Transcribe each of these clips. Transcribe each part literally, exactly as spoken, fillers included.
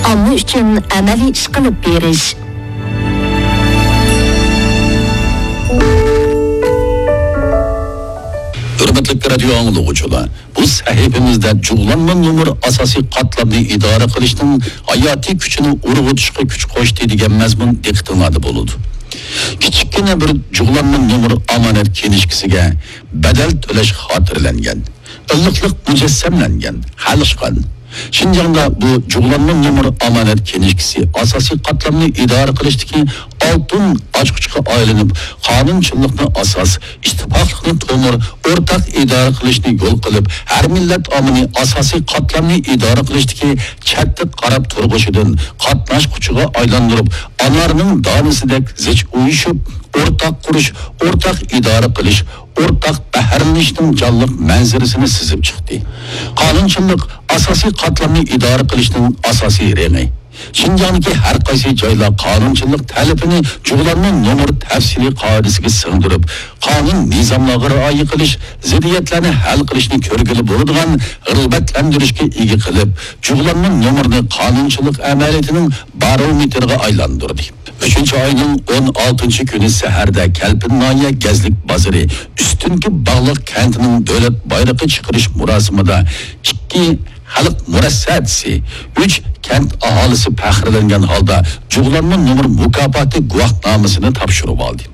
ئامما ئۈچۈن ئەمەلىي ئىش قىلىپ بېرىش. ھۆرمەتلىك رادىيو ئاڭلىغۇچىلار، بۇ سەھىپىمىزدە جۇغلانما نومۇر ئاساسىي قاتلامنى ئىدارە قىلىشنىڭ ھاياتىي كۈچىنى ئۇرغۇتۇشقا كۈچ قوشتى دېگەن مەزمۇن دىققىتىڭلاردا بولىدۇ. كىچىككىنە بىر جۇغلانما نومۇر ئامانەت كىنىشكىسىگە بەدەل تۆلەش خاتىرىلەنگەن، ئىللىقلىق مۇجەسسەملەنگەن، خەلققان. شىنجاڭدا بۇ جۇغلانما نومۇر ئامانەت كىنىشكىسى ئاساسىي قاتلامنى ئىدارە قىلىشتىكى ئالتۇن ئاچقۇچقا ئايلىنىپ، قانۇنچىللىقنى ئاساس، ئىتتىپاقلىقنى تومۇر، ئورتاق ئىدارە قىلىشنى يول قىلىپ، ھەر مىللەت ئاممىنى ئاساسىي قاتلامنى ئىدارە قىلىشتىكى چەتتە قاراپ تۇرغۇچىدىن قاتناشقۇچىغا ئايلاندۇرۇپ، ئانارنىڭ دانىسىدەك زىچ ئۇيۇشۇپ، ئورتاق قۇرۇش، ئورتاق ئىدارە قىلىش، ئورتاق بەھرىلىنىشنىڭ جانلىق مەنزىرىسىنى سىزىپ چىقتى. قانۇنچىللىق ئاساسىي قاتلامنى ئىدارە قىلىشنىڭ ئاساسىي رېڭى. شىنجاڭدىكى ھەر قايسى جايلار قانۇنچىلىق تەلىپىنى جۇغلانما نومۇر تەپسىلىي قائىدىسىگە سىڭدۈرۈپ، قانۇن نىزاملارغا رىئايە قىلىش، زىددىيەتلەرنى ھەل قىلىشنى كۆرگىلى بولىدىغان رىغبەتلەندۈرۈشكە ئىگە قىلىپ، جۇغلانما نومۇرنى قانۇنچىلىق ئەمەلىيىتىنىڭ بارومېتىرىغا ئايلاندۇردى. ئۈچىنچى ئاينىڭ ئون ئالتىنچى كۈنى سەھەردە كەلپىن ناھىيە گەزلىك بازىرى ئۈستۈنكى باغلىق كەنتىنىڭ دۆلەت بايرىقى چىقىرىش مۇراسىمىدا ئىككى خەلق مۇرەسسەسى، ئۈچ كەنت ئاھالىسى پەخىرلەنگەن ھالدا جۇغلانما نومۇر مۇكاپاتى گۇۋاھنامىسىنى تاپشۇرۇۋالدى.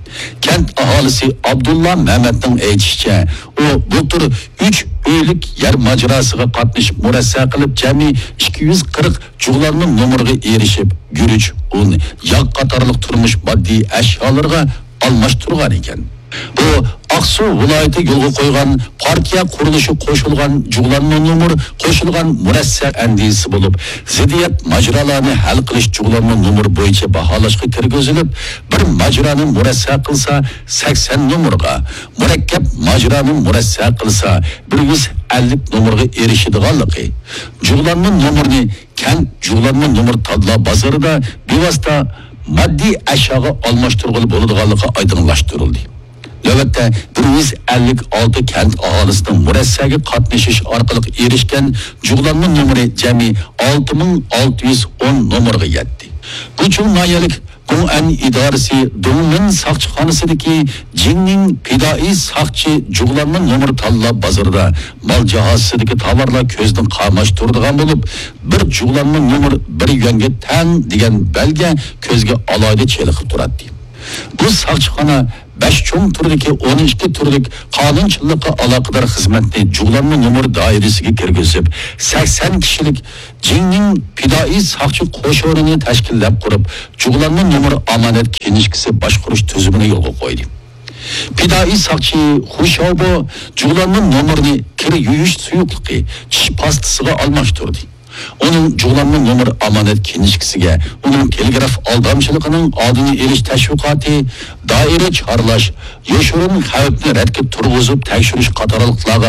كەنت ئاھالىسى ئابدۇللا مەمەتنىڭ ئېيتىشىچە، ئۇ بۇلتۇر ئۈچ ئۆيلۈك يەر ماجىراسىغا قاتنىشىپ مۇرەسسە قىلىپ، جەمئىي ئىككى يۈز قىرىق جۇغلانما نومۇرغا ئېرىشىپ، گۈرۈچ، ئۇن، ياغ قاتارلىق تۇرمۇش ماددىي ئەشيالىرىغا ئالماشتۇرغان ئىكەن. بۇ ئاقسۇ ۋىلايىتى يولغا قويغان پارتىيە قۇرۇلۇشى قوشۇلغان جۇغلانما نومۇر قوشۇلغان مۇرەسسە ئەندىزىسى بولۇپ، زىددىيەت ماجىرالارنى ھەل قىلىش جۇغلانما نومۇر بويىچە باھالاشقا كىرگۈزۈلۈپ، بىر ماجىرانى مۇرەسسە قىلسا سەكسەن نومۇرغا، مۇرەككەپ ماجىرانى مۇرەسسە قىلسا بىر يۈز ئەللىك نومۇرغا ئېرىشىدىغانلىقى، جۇغلانما نومۇرنى كەنت جۇغلانما نومۇر تاللا بازىرىدا بىۋاسىتە ماددىي ئەشياغا ئالماشتۇرغىلى بولىدىغانلىقى ئايدىڭلاشتۇرۇلدى. نۆۋەتتە بىر يۈز ئەللىك ئالتە كەنت ئاھالىسىنىڭ مۇرەسسەگە قاتنىشىش ئارقىلىق ئېرىشكەن جۇغلانما نومۇرى جەمئىي ئالتە مىڭ ئالتە يۈز ئون نومۇرغا يەتتى. گۇچۇڭ ناھىيەلىك گۇڭئەن ئىدارىسى دۇڭلىن ساقچىخانىسىدىكى جىڭنىڭ پىدائىي ساقچى جۇغلانما نومۇر تاللا بازىرىدا مال جاھازىسىدىكى تاۋارلار كۆزنى قاماشتۇرىدىغان بولۇپ، بىر جۇغلانما نومۇر بىر يۈەنگە تەڭ دېگەن بەلگە كۆزگە ئالاھىدە چېلىقىپ تۇراتتى. بۇ ساقچىخانا بەش چوڭ تۈردىكى ئون ئىككى تۈرلۈك قانۇنچىللىققا ئالاقىدار خىزمەتنى جۇغلانما نومۇر دائىرىسىگە كىرگۈزۈپ، سەكسەن كىشىلىك جىڭنىڭ پىدائىي ساقچى قوشۇنىنى تەشكىللەپ قۇرۇپ، جۇغلانما نومۇر ئامانەت كىنىشكىسى باشقۇرۇش تۈزۈمىنى يولغا قويدى. پىدائىي ساقچى خۇ شياۋبو جۇغلانما نومۇرنى كىر يۇيۇش سۇيۇقلۇقى، چىش پاستىسىغا ئالماشتۇردى. ئۇنىڭ جۇغلانما نومۇر ئامانەت كىنىشكىسىگە ئۇنىڭ تېلېگراف ئالدامچىلىقىنىڭ ئالدىنى ئېلىش تەشۋىقاتى، دائىرە چارلاش، يوشۇرۇن خەۋپنى رەتكە تۇرغۇزۇپ تەكشۈرۈش قاتارلىقلارغا